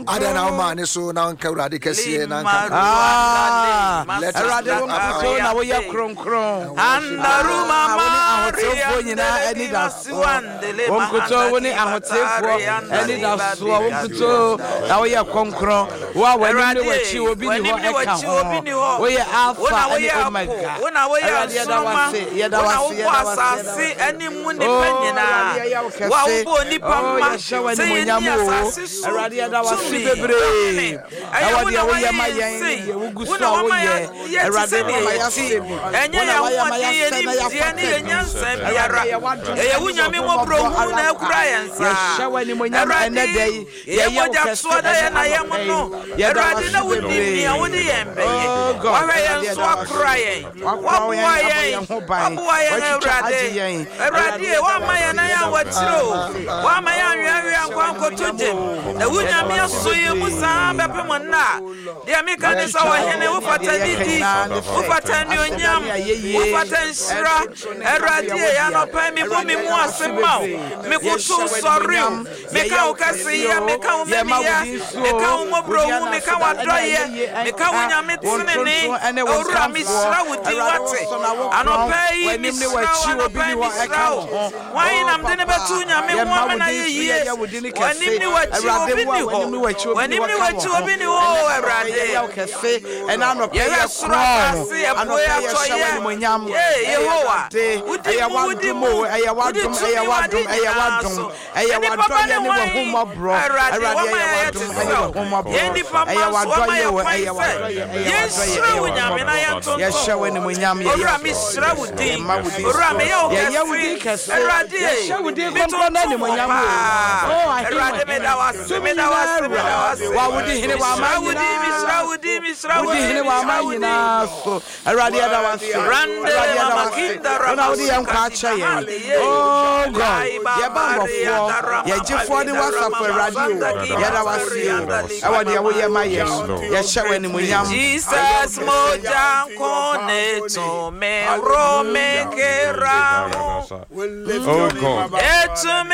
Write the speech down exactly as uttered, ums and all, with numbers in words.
Adɛn na womaa ne so na wonka Awurade kɛseɛ na nka Ah, Let us Awurade wo lift up nkutoo our na woyɛ kronkron. Andaruma Ah, wo ne ahoteefoɔ nyinaa ani da soɔ. Wo nkutoo wo ne ahoteefoɔ ani da soɔ. Wo nkutoo na woyɛ kronkron. Wo a w'anim ne w'akyi obi ni hɔ ɛka ho. Woyɛ Alpha ne Omega. Awurade yɛda wo ase, yɛda wo ase, yɛda wo ase, yɛda wo ase. Nipa Oh, nyinaa Awurade yɛyɛ wo wo a kɛse. wobɔ nipa Oh, mma yɛhyɛ wo sɛ yɛnni animuonyam o. asase so Awurade yɛda wo ase tumi bebree. ɛyɛ Ɛwɔ wo deɛ na woyɛ woayɛ ma yɛn yɛn ne sei deɛ wogu wo so na a wama woyɛ. yɛte Awurade sɛdeɛ wama yɛte yɛasɛ bi. ɛnyɛ Wo na yɛn woayɛ ma ahoɔden yɛn yɛasɛ na nimdeɛ ne yɛafata yɛn bi. nyansa Awurade biara yɛ w'adom ɛyɛ wo ne Nyame w'ahummɔborɔ mmɔborɔhunu na ara akura kwa. yɛn Yɛhyɛ saa wo animuonyam ɛnnɛ da Awurade yi. yɛyɛ Yɛyɛ wo mogya kɛse toɔ da ɛnnɛ yɛn na yɛm anɔpa yi. no Yɛda wo Awurade ase na wonim nea bebree. wode yɛn bɛyɛ Oh God, wahwɛ Awurade yɛn so yɛda wo ase. akora yɛn Wakora waboa yɛn, abɔ yɛn yɛn ho ban. waboa yɛn Watwitwa Awurade agye yɛn. Awurade Awurade yɛda wo woama ase, yɛn nan yɛda wo awatiri o ase. woama yɛn anweawea Yɛhyɛ nkwa wo nkɔtɔ animuonyam gyem o. na wo Yɛda Nyame wo ase aso yɛn mu saa bebree. bɛpem nna a deɛ meka ne sɛ Yɛatwitwa ɔhene agye yɛn ne wofata deɛ yɛka didi nyinaa ne sɛ wofata aseda ne anuonyam ayɛyie wofata nhyira ɛntonto ne nkamfo Awurade yɛ wo yɛ dea. anɔpa yi mebɔ Awurade me mu yɛda wo ase ase ma wo bebree. mekoto Yɛhyɛ wo sɔre o animuonyam. meka Yɛyɛ wo wo kɛse kɛseyɛ o. meka wo Yɛma wo mamiyɛ din so meka o. wo Wo din mmɔborɔhu ana meka aseda ɛne w'adɔyɛ ayɛyie meka wo ɛnka. Nyame Wo tenene ntonto ɛne wo owura nkamfoɔ. mehyira wo din Awurade wo wate so na wo korɔn. anɔpa yi W'anim ne mehyira wo w'akyi obi anɔpa ni yi hɔ mehyira ɛka wo wo ho. hwan Oh nam de ne papa, bɛto Nyame ho yɛma ama wo na din yɛ so yie yɛyɛ wo din w'anim kɛse. ne w'akyi Awurade obi wo a ni hɔ w'anim ne w'akyi obi ni w'anim hɔ ne ka w'akyi wo ho. obi ni hɔ Ɛnɛ o anɔpa yi Awurade yɛyɛ wo kɛse. Ɛnɛ anɔpa yi yɛhwɛ yɛ soro korɔn. asase ɛpoe Anɔpa yi yɛhyɛ wo atɔyɛ animuonyam. ye Ɛyɛ Yehowa Awurade. wodi Ɛyɛ mu wodi w'adom mu o. Ɛyɛ wodi w'adom. tumi Ɛyɛ w'ade w'adom. Ɛyɛ nyinaa w'adom. so Ɛyɛ nnipa ba w'adɔyɛ ne ne hwan w'ahummɔborɔ. Awurade Awurade wɔma ɛyɛ yɛyɛ te w'adom sɛ ɛne wo w'ahummɔborɔ. yɛn nnipa Ɛyɛ ma nso wɔma w'adɔyɛ yɛ o. kwan Ɛyɛ sɛ w'adɔyɛ. Ɛyɛ w'adɔyɛ. yɛnhyira Ɛyɛ wo Nyame na w'ahummɔborɔ. yɛntontom Yɛhyɛ wo wo animuonyam. Yɛyɛ owura wo mehyira wo din Yɛma wo din owura so. meyɛ wo Yɛyɛ wo din kɛse kɛse. Awurade Yɛhyɛ wo din kronkron no metontom wo animuonyam o. paa Oh, ahene mu Awurade hene. meda wo ase Tumi meda wo nyinaa ase meda wura. wo ase Wa wodi hene wɔ mehyira aman wo din mehyira nyinaa wo so. din mehyira wo Wodi din hene wɔ mehyira aman wo din nyinaa so. Awurade yɛda wo ase. Randele Awurade yɛda wo mama ase. kinda Wo na wode yɛn nkwa ramasuka akyɛ yɛn. hale ye Oh God, Laiba yɛba maria mbɔfoɔ, darama yɛgyefoɔ ne palida w'asafo rama Awurade o. masanda kiba Yɛda wo ase o. sarianda Ɛwɔ deɛ woyɛ ma Yes, yɛn. Lord. Yɛhyɛ wo animuonyam. Jesus moja nkone tumi rome kera Oh God. etumi